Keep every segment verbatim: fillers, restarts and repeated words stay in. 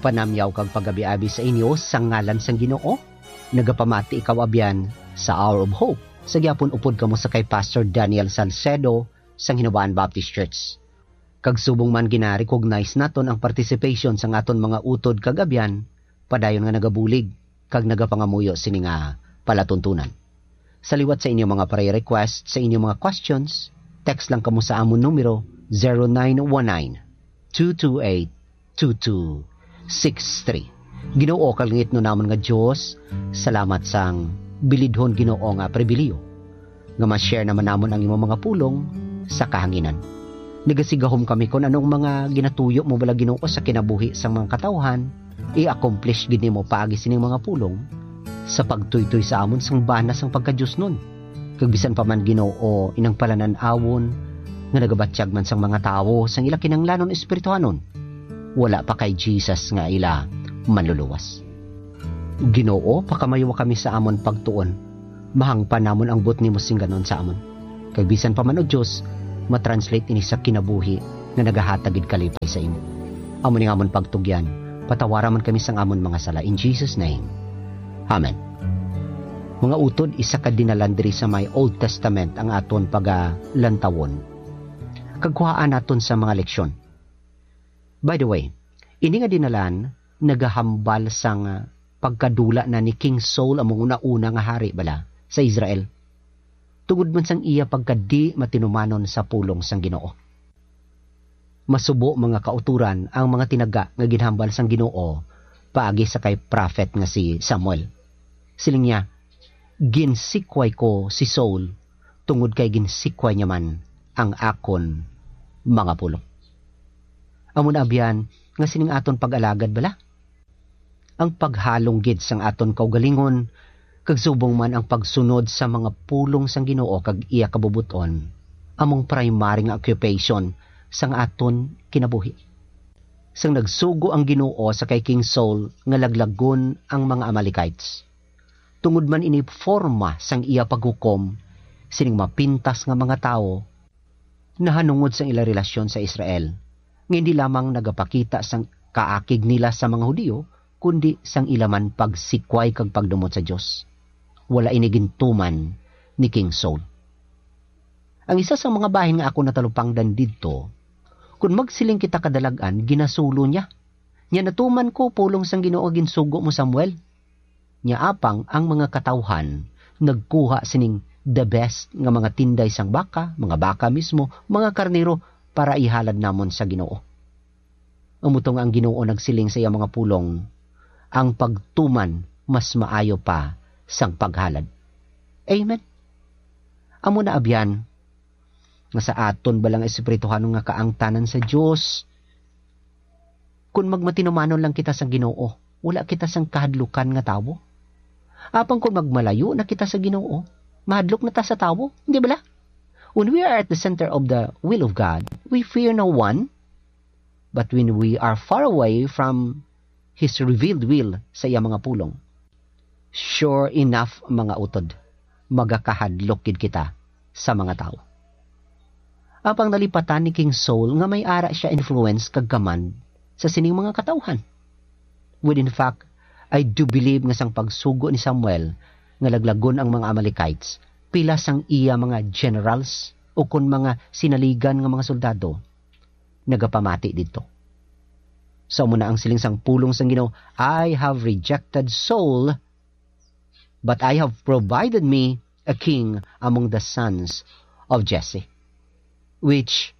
Panamyaw kag pagabi-abi sa inyo sa ngalan sang Ginoo. Nagapamati ikaw, abyan, sa Hour of Hope. Sa gyapon, upod kamo sa kay Pastor Daniel Salcedo sang Hinabaan Baptist Church. Kag subong man gina-recognize naton ang participation sang aton mga utod kag abyan, padayon nga nagabulig kag nagapangamuyo sini nga palatuntunan. Sa liwat sa inyo mga prayer request, sa inyo mga questions, text lang kamo sa amon numero, zero nine one nine, two two eight, two two six three. Ginoo, kalangitnon namon nga Dios, salamat sang bilidhon, Ginoo, nga pribiliyo nga ma-share naman namon ang imong mga pulong sa kahanginan. Nagasigahom kami kon anong mga ginatuyo mo bala, Ginoo, sa kinabuhi sang mga katawhan, i-accomplish gid nimo paagi sining mga pulong sa pagtuytoy sa amon sang bana sang pagkadiosnon. Kag bisan pa man, Ginoo, inang palanan-awon nga nagabatyag man sang mga tawo sang ila kinahanglanon espirituhanon, wala pa kay Jesus nga ila Manluluwas. Ginoo, pakamaywa kami sa amon pagtuon. Mahangpan namon ang buot nimo singganon sa amon. Kag bisan pa man, O Dios, matranslate ini sa kinabuhi nga nagahatag gid kalipay sa imo. Amo ni nga amon pagtugyan, patawara man kami sang amon mga sala. In Jesus' name, amen. Mga utod, isa ka dinalan diri sa may Old Testament ang aton pagalantawon kag kuhaan naton sa mga leksyon. By the way, ini nga dinalan nagahambal sang, ah, pagkadula na ni King Saul, among una-una nga hari bala sa Israel, tungod man sang iya pagkadi matinumanon sa pulong sang Ginoo. Masubo, mga kautoran, ang mga tinaga nga ginhambal sang Ginoo paagi sa kay prophet nga si Samuel. Siling niya, "Ginsikway ko si Saul tungod kay ginsikway niya man ang akon mga pulong." Amo na, abyan, nga sining aton pag-alagad bala. Ang paghalong gid sang aton kaugalingon, kag subong man ang pagsunod sa mga pulong sang Ginoo kag iya kabubot-on, among primary nga occupation sang aton kinabuhi. Sang nagsugo ang Ginoo sa kay King Saul nga laglagon ang mga Amalekites, tungod man ini forma sang iya paghukom sining mapintas nga mga tawo, nahanungod sang ila relasyon sa Israel, nga hindi lamang nagapakita sang kaakig nila sa mga Hudiyo, kundi sang ila man pagsikway kag pagdumot sa Dios. Wala ini gintuman ni King Saul. Ang isa sa mga bahin nga ako natalupangdan didto, kun magsiling kita kadalag-an, ginasulo niya. Nya, natuman ko, pulong sang Ginoo, ginsugo mo, Samuel. Nya apang ang mga katawhan nagkuha sining the best nga mga tinday sang baka, mga baka mismo, mga karnero, para ihalad namon sa Ginoo. Amo to nga ang Ginoo nagsiling sa iya mga pulong, "Ang pagtuman mas maayo pa sang paghalad." Amen. Amo na, abyan, nga sa aton bala nga espirituhanon nga kaangtanan sa Dios, kun magmatinumanon lang kita sa Ginoo, wala kita sang kahadlukan nga tawo. Apang kun magmalayo na kita sa Ginoo, mahadlok na ta sa tawo, hindi bala? When we are at the center of the will of God, we fear no one. But when we are far away from His revealed will sa iya mga pulong, sure enough, mga utod, magakahadlok gid kita sa mga tawo. Apang nalipatan ni King Saul nga may ara sia influence kag command sa sining mga katawhan. Well, in fact, I do believe nga sang pagsugo ni Samuel nga laglagon ang mga Amalekites, pila sang iya mga generals, ukon mga sinaligan nga mga soldado, nagapamati didto. Sa amo na ang siling sang pulong sang Ginoo, "I have rejected Saul, but I have provided me a king among the sons of Jesse." Which,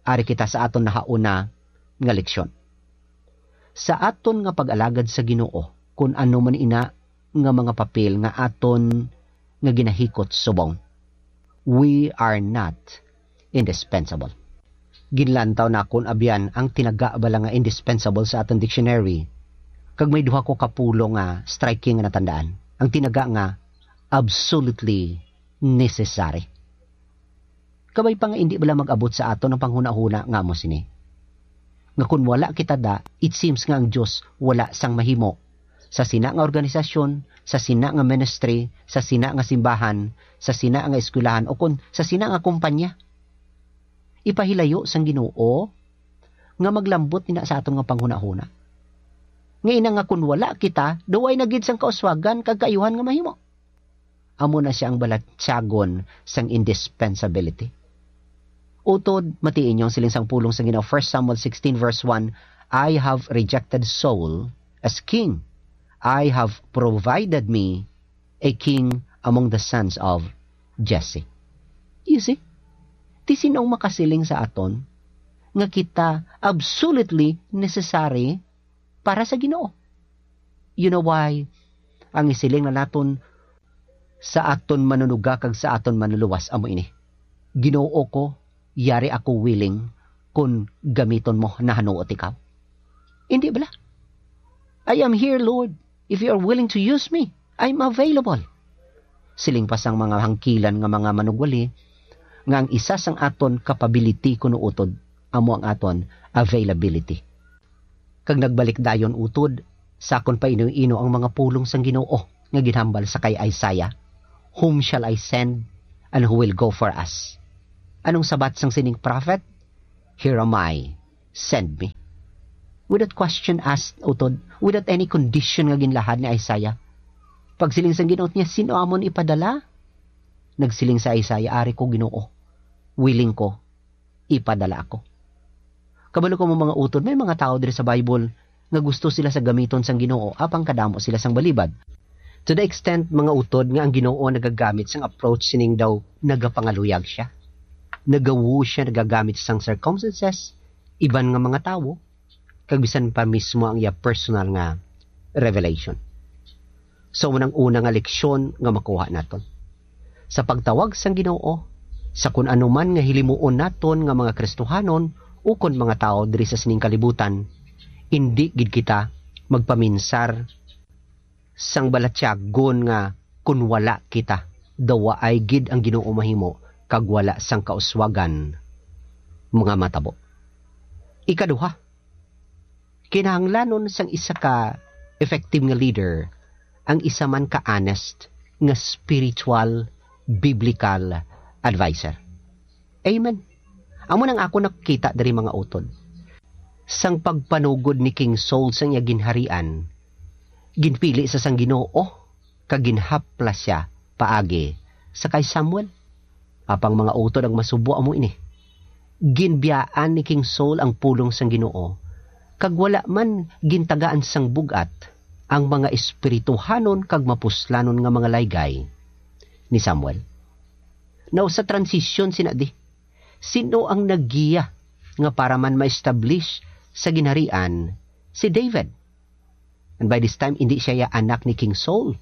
ari kita sa aton nahauna nga leksyon. Sa aton nga pag-alagad sa Ginoo, kun ano man ina nga mga papel nga aton nga ginahikot subong, we are not indispensable. Ginlantaw nakon, abyan, ang tinaga bala nga indispensable sa aton dictionary, kag may duha ko ka pulong nga striking nga natandaan. Ang tinaga nga absolutely necessary. Kabay pa nga indi bala mag-abot sa aton ang panghunahuna nga amo sini, nga kun wala kita da, it seems nga ang Dios wala sang mahimo sa sina nga organisasyon, sa sina nga ministry, sa sina nga simbahan, sa sina nga eskwelahan, o kon sa sina nga kumpanya. Ipahilayo sang Ginoo nga maglambot nina sa aton nga panghunahuna. Nga ina nga kun wala kita, daw ay na gid sang kauswagan kag kaayuhan nga mahimo. Amo na sia ang balatyagon sang indispensability. Utod, matii ninyo ang siling sang pulong sang Ginoo, First Samuel sixteen verse one, "I have rejected Saul as king. I have provided me a king among the sons of Jesse." You see? Ti sino ang makasiling sa aton nga kita absolutely necessary para sa Ginoo? You know why? Ang isiling na naton sa aton Manunuga kag sa aton Manluluwas amo ini, "Ginoo ko, yari ako willing kon gamiton mo, nahanuot ikaw." Indi bala? "I am here, Lord. If you are willing to use me, I'm available." Siling pa sang mga hangkilan nga mga manugwali nga ang isa sang aton capability kuno utod amo ang aton availability. Kag nagbalik dayon utod sa akon paino-ino ang mga pulong sang Ginoo nga ginhambal sa kay Isaiah, "Whom shall I send, and who will go for us?" Anong sabat sang sining prophet? "Here am I, send me." Without question asked, utod, without any condition nga ginlahad ni Isaiah. Pagsiling sang Ginoo niya, "Sino amon ipadala?" Nagsiling sa Isaiah, "Ari ko, Ginoo, willing ko, ipadala ako." Kabalo ko mo, mga utod, may mga tawo diri sa Bible nga gusto sila sa gamiton sang Ginoo, apang kadamo sila sang balibad. To the extent, mga utod, nga ang Ginoo nagagamit sang approach sining daw nagapangaluyag siya. Nagawo siya nagagamit sang circumstances, iban nga mga tawo, kag bisan pa mismo ang iya personal nga revelation. So, amo na ang una nga leksyon nga makuha naton. Sa pagtawag sang Ginoo, sa kun ano man nga hilimuon naton nga mga Kristohanon ukon mga tawo diri sa sining kalibutan, indi gid kita magpaminsar sang balatyagon nga, "Kun wala kita, daw waay gid ang Ginoo mahimo, kag wala sang kauswagan mga matabo." Ikaduha, kinahanglanon sang isa ka effective nga leader ang isa man ka honest nga spiritual, biblical adviser. Amen. Amo nang ako nakita diri, mga utod. Sang pagpanugod ni King Saul sang iya ginharian, ginpili sa sang Ginoo kag ginhaplas sia paagi sa kay Samuel. Apang, mga utod, ang masubo amo ini. Ginbiyaan ni King Saul ang pulong sang Ginoo, kag wala man gintagaan sang bug-at ang mga espirituhanon kag mapuslanon nga mga laygay ni Samuel. Now, sa transisyon sina di, sino ang naggiya nga para man ma-establish sa ginharian si David? And by this time, indi sia ya anak ni King Saul,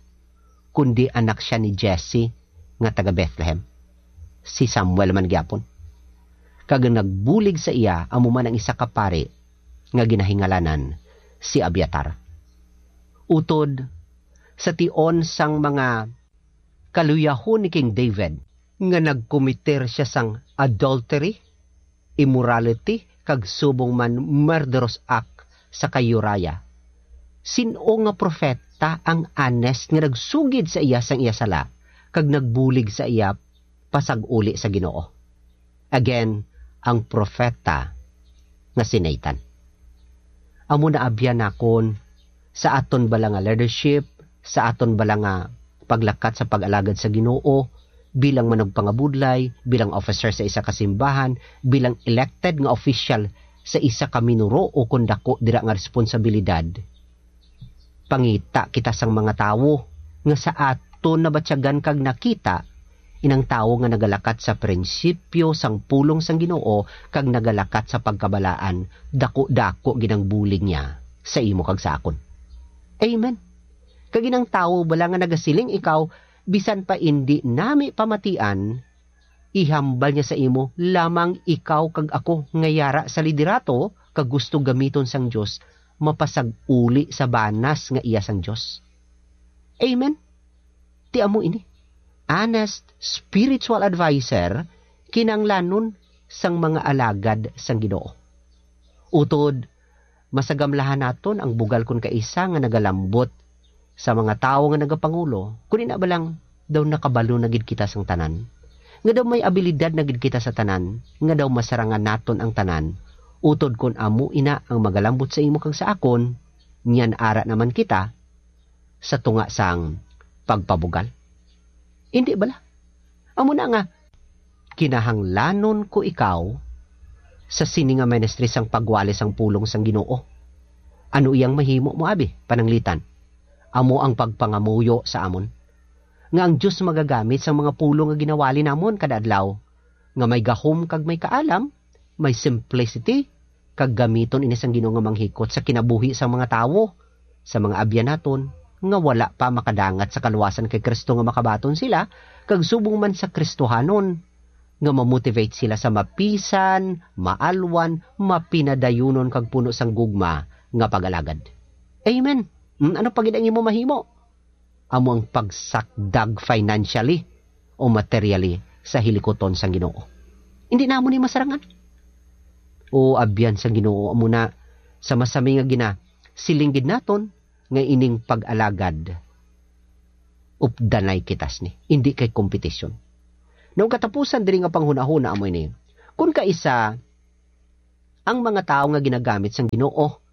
kundi anak sia ni Jesse nga taga Bethlehem. Si Samuel man gyapon. Kag ang nagbulig sa iya amo man ang isa ka pari nga ginahingalanan si Abiatar. Utod sa tion sang mga kaluyahon ni King David nga nagkomiter sia sang adultery, immorality, kag subong man murderous act sa kay Uriah. Sin-o nga propeta ang honest nga nagsugid sa iya sang iya sala kag nagbulig sa iya pasag-uli sa Ginoo? Again, ang propeta nga si Nathan. Amo na abyan nakon sa aton bala nga leadership, sa aton bala nga paglakat sa pag-alagad sa Ginoo, bilang manugpangabudlay, bilang officer sa isa ka simbahan, bilang elected nga official sa isa ka minuro o kon dako dira nga responsabilidad, pangita kita sang mga tawo nga sa aton nabatyagan kag nakita inang tawo nga nagalakat sa prinsipyo sang pulong sang Ginoo kag nagalakat sa pagkabalaan, dako-dako gid ang bulig niya sa imo kag sa akon. Amen. Kag inang tawo bala nga nagasiling ikaw, bisan pa indi nami pamatian, ihambal niya sa imo lamang ikaw kag ako nga yara sa liderato kag gusto gamiton sang Dios, mapasag-uli sa banas nga iya sang Dios. Amen. Ti amo ini. Honest spiritual adviser kinahanglanon sang mga alagad sang Ginoo. Utod, masagamlahan naton ang bugal kon kaisa nga nagalambot sa mga tawo nga nagapangulo, kon ina ba lang daw nakabalo na gid kita sang tanan, nga daw may abilidad na gid kita sa tanan, nga daw masarangan naton ang tanan, utod kon amo ina ang magalambot sa imo kag sa akon, Niyan ara naman kita sa tunga sang pagpabugal. Indi bala? Amo na nga, kinahanglanon ko ikaw sa sini nga ministry sang pagwali sang pulong sang Ginoo. Ano iyang mahimo mo, abi? Pananglitan, amo ang pagpangamuyo sa amon nga ang Dios magagamit sang mga pulong nga ginawali namon kada adlaw, nga may gahom kag may kaalam, may simplicity, kag gamiton ini sang Ginoo nga manghikot sa kinabuhi sang mga tawo, sa mga abyan naton nga wala pa makadangat sa kaluwasan kay Cristo, nga makabaton sila, kag subong man sa Kristohanon, nga ma-motivate sila sa mapisan, maalwan, mapinadayunon kag puno sang gugma nga pag-alagad. Amen. Mm, ano pa gid ang imo mahimo? Amo ang pagsakdag financially o materially sa hilikuton sang Ginoo. Hindi namo ni masarangan. O abyan sang Ginoo, amo na sa masami nga ginasiling gid naton nga ining pag-alagad updanay kita sini, hindi kay kompetisyon. Now, katapusan diri nga panghunahuna amo ini. Kun kaisa ang mga tawo nga ginagamit sang Ginoo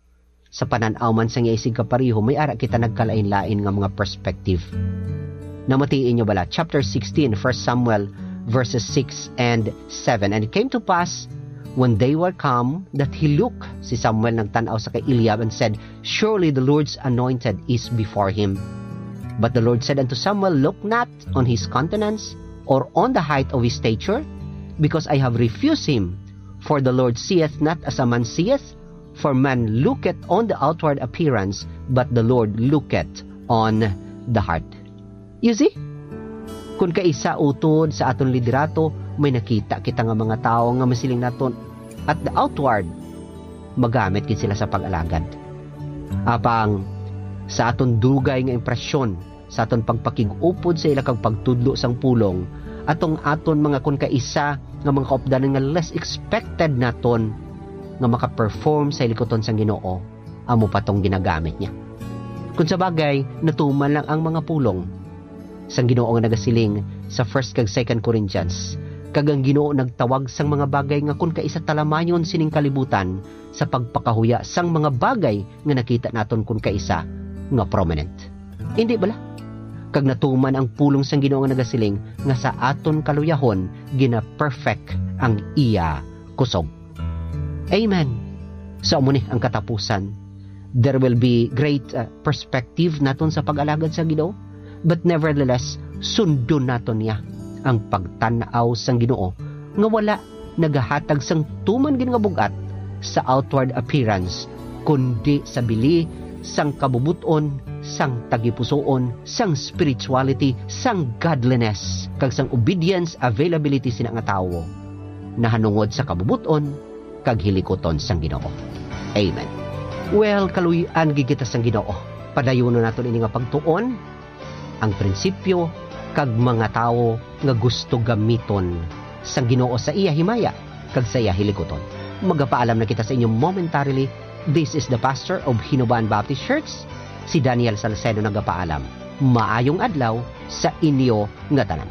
sa panan-aw man sang iya isig kapareho, may ara kita nagkalain-lain nga mga perspective. Namatii inyo bala? Chapter sixteen, First Samuel, verses six and seven. And it came to pass, when they were come, that he looked, si Samuel nagtan-aw sa kay Eliab, and said, "Surely the Lord's anointed is before him." But the Lord said unto Samuel, "Look not on his countenance, or on the height of his stature, because I have refused him. For the Lord seeth not as a man seeth, for man looketh on the outward appearance, but the Lord looketh on the heart." You see? Kung kaisa utod sa aton liderato, may nakita kita nga mga tawo nga masiling naton, at the outward, magamit gid sila sa pag-alagad. Apang sa aton dugay nga impresyon, sa aton pagpakig-upod sa ila kag pagtudlo sang pulong, atong aton mga kun kaisa nga mga kaupdanan nga less expected naton nga maka-perform sa hilikuton sang Ginoo, amo pa tong ginagamit niya. Kung sa bagay, natuman lang ang mga pulong sang Ginoo nga nagasiling sa First kag Second Corinthians, kag ang Ginoo nagtawag sang mga bagay nga kun kaisa talamayon sining kalibutan sa pagpakahuya sang mga bagay nga nakita naton kun kaisa nga prominent. Indi bala? Kag natuman ang pulong sang Ginoo nga nagasiling nga sa aton kaluyahon gina-perfect ang iya kusog. Amen. So, amo ni ang katapusan. There will be great, uh, perspective naton sa pag-alagad sa Ginoo, but nevertheless, sundon naton niya ang pagtan-aw sang Ginoo nga wala nagahatag sang tuman gid nga bug-at sa outward appearance, kundi sa bili sang kabubot-on, sang tagipusoon, sang spirituality, sang godliness, kag sang obedience, availability sina nga tawo nahanungod sa kabubot-on kag hilikuton sang Ginoo. Amen. Well, kaluy-an gid kita sang Ginoo. Padayunon naton ini nga pagtuon, ang prinsipyo kag mga tawo nga gusto gamiton sang Ginoo sa iya himaya kag sa iya hilikuton. Magapaalam na kita sa inyo momentarily. This is the pastor of Hinubaan Baptist Church, si Daniel Salcedo, nagapaalam. Maayong adlaw sa inyo nga tanan.